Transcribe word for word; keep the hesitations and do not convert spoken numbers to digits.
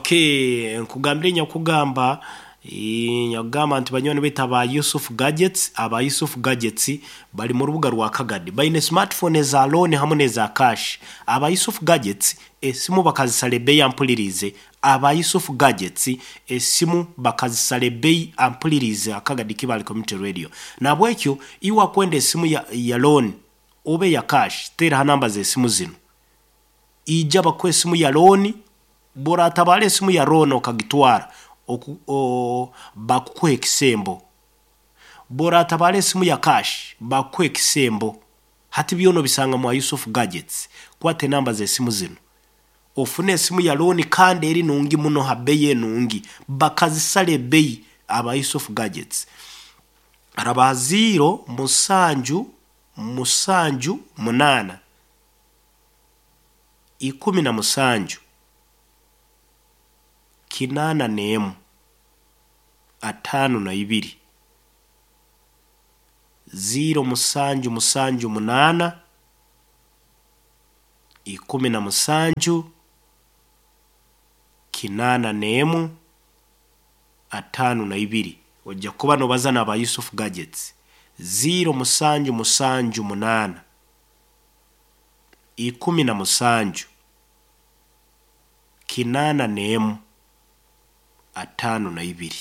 Okay, nkugambire nyakugamba eh, nyakugamba nti banywani baitu aba Yusuf Gadgets, aba Yusuf Gadgets bali mu rubuga rwa Kagadi, baine smartphone eza loan hamu n'eza cash. Aba Yusuf Gadgets esimu bakazisala ebbeeyi, ampulirize. Aba Yusuf Gadgets esimu bakazisala ebbeeyi, ampulirize. Akagadi Kibale Community Radio. Nabwekyo iwe akwenda esimu ya, ya loan oba eya cash, teeraho namba z'esimu zinu, ija bakuha esimu ya loan. Bw'oratabara esimu ya loan okagitwara oku, o, bakukuha ekisembo. Bw'oratabara esimu ya cash, bakukuha ekisembo. Hati byona obisanga mwa Yusuf Gadgets. Kwata enamba z'esimu zinu, ofune esimu ya loan kandi eri nungi muno ha bbeeyi enungi, bakazisala ebbeeyi aba Yusuf Gadgets. Araba ziro musanju musanju munaana ikumi na musanju kinaana n'emu ataano na ibiri, ziro musanju musanju munaana ikumi na musanju kinaana n'emu ataano na ibiri. Ojja kuba nobaza n'aba Yusuf Gadgets. Ziro musanju musanju munaana ikumi na musanju kinaana n'emu ataano na ibiri.